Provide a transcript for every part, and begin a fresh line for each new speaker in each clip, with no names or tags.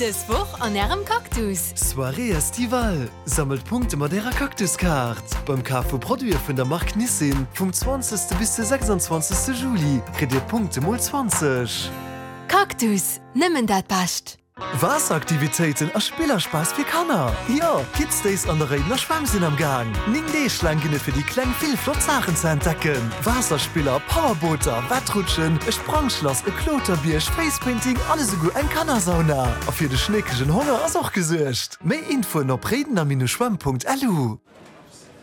Dës Woch an Ärem Cactus!
Soirée estivale, Sammelt Punkte mat Ärer Cactus-Kaart! Beim Kaf vu Produite vun der Mark Nissin vum 20. bis de 26. Juli kritt Dir Punkte mol 20.
Cactus, nëmmen dat Bescht!
Waasseraktivitéiten a Spillerspass fir Kanner! Jo, Kids Days an der Réidener Schwämm sinn am Gaang! 9 Deeg laang ginn et fir déi Kleng vill flott Saachen ze entdecken, Waasserspiller, Powerbooter, Wettrutschen, e Sprangschlass, e Kloterbierg, Facepainting an esouguer eng Kannersauna! A fir de schneekegen Honger ass och gesuergt! Méi Infoen op réidener-schwämm.lu.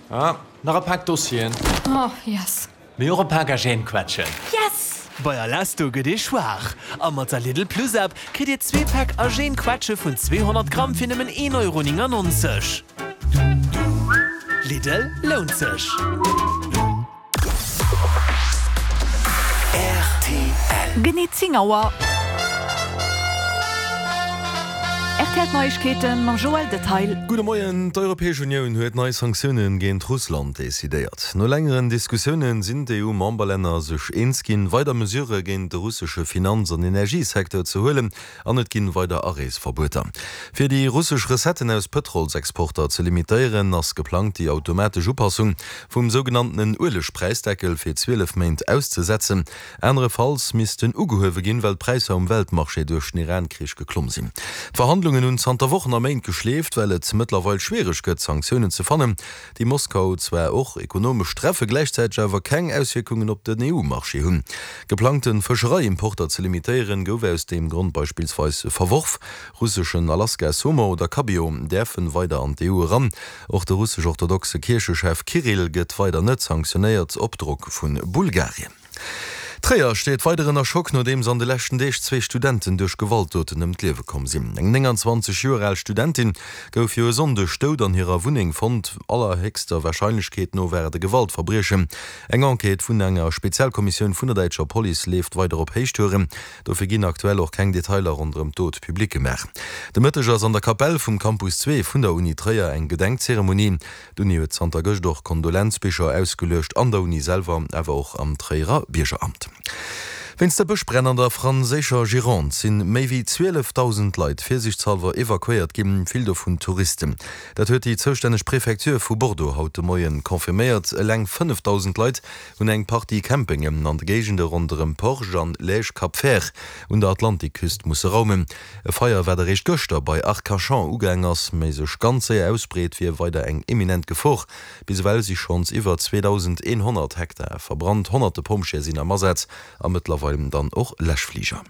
Ah, nach e Pak Dossieren.
Oh, yes.
Mee och e Pak Agènequetschen.
Yes!
Bei Alesto gëtt ee schwaach a mat der Lidl Plus App kritt dir zwee Päck Agènequetsche vun 200 Gramm fir nëmmen 1,99 Euro. Lidl, lount sech!
Rtl.
Genee 10 Auer. Rtl Neiegkeeten mam Joël Detaille.
Gudde Moien. D'Europäesch Unioun huet nei Sanktioune géint Russland decidéiert. No längeren Diskussioune sinn d'EU-Memberlänner sech eens ginn, weider Mesurë géint de russesche Finanz an Energiesecteur ze huelen an et ginn weider Areesverbueter. Fir déi russesch Recetten aus Pëtrolsexporter ze limitéieren, ass geplangt déi automatesch Upassung vum sougenanntenen Uelegpräisdeckel fir 12 Méint auszesetzen. Anerefalls misst en ugehuewe ginn, well d'Präisser um Weltmarché duerch den Iran-Krich geklomm sinn. D'Verhandlungen hunn zanter Wochen a Méint geschleeft, well et mëttlerweil schwiereg gëtt, Sanktiounen ze fannen, déi Moskau zwar och ekonomesch treffe, gläichzäiteg awer keng Auswierkungen op den EU-Marché hunn. Geplangte Fëschereiimporter ze limitéieren, gouf aus deem Grond beispillsweis verworf. Russeschen Alaska-Saumon oder Cabillaud däerfen weider an d'EU eran. Och de russesch-orthodoxe Kierchechef Kirill gëtt weider net sanktionéiert, op Drock vu Bulgarien. Tréier steet weider ënner Schock, nodeems an de leschten Deeg zwee Studenten duerch Gewaltdoten ëm d'Liewe komm sinn. Eng 29 Joer al Studentin gouf jo e Sonndeg dout an hirer Wunneng fonnt. Allerhéchster Warscheinlechkeet no war et e Gewaltverbriechen. Eng Enquête vun enger Spezialkommissioun vun der däitscher Police leeft weider op Héichtouren. Dofir ginn aktuell och keng Detailer ronderëm d'Dot public gemaach. De Mëtteg ass an der Kapell vum Campus 2 vun der Uni Tréier eng Gedenkzeremonie. D'Uni huet zanter gëscht och Kondolenzbicher ausgeluecht, an der Uni selwer, awer och am Tréierer Biergeramt. Wéinst de Bëschbränn an der franséischer Gironde sinn méi wéi 12.000 Leit virsiichtshallwer evakuéiert ginn, vill dovun Touristen. Dat huet déi zoustänneg Prefecture vu Bordeaux haut de Moien confirméiert. Eleng 5.000 Leit hunn eng Partie Campingen an de Géigende ronderëm Porge an Lège-Cap-Vert un der Atlantikküst musse raumen. E Feier, wat eréischt gëschter bei Arcachon ugaang ass, mee sech ganz séier ausbreet, wier weider eng eminent Gefor. Bis ewell si schonns iwwer 2.100 Hektar verbrannt, honnerte Pompjeeë sinn am Asaz a mëttlerweil dann och Läschfliger.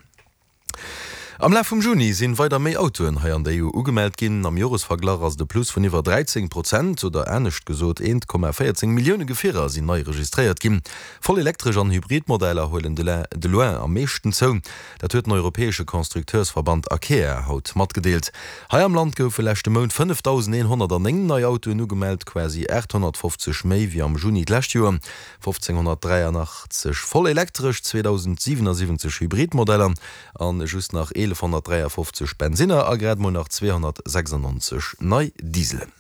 Am Laf vum Juni sinn weider méi Autoen hei an der EU ugemellt ginn. Am Joresverglach ass et e Plus vun iwwer 13 Prozent, oder anescht gesot 1,14 Millioune Gefierer sinn nei registréiert ginn. Voll elektresch an Hybrid Modeller huelen de loin am meeschten zou. Dat huet den europäesche Constructeursverband Acea haut matgedeelt. Hei am Land goufe leschte Mount 5.109 nei Autoen ugemellt, quasi 850 méi wéi am Juni d'lescht Joer. 1.583 voll elektresch, 2.077 Hybridmodeller a just nach 1.153 Bensinner a grad mol nach 296 nei Dieselen.